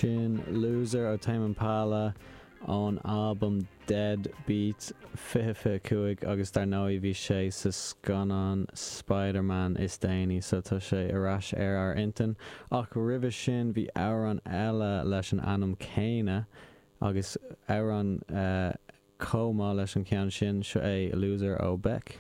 Sin Loser ó Tame Impala ón albam Dead Beat 2025 agus dar ndóigh bhí sé sa scannán Spider-Man is déanaí so tá sé ar ais ar ár intinn. Ach roimhe sin bhí amhrán eile leis an ainm céanna agus amhrán chomh maith leis an cheann sin, seo é Loser ó Beck.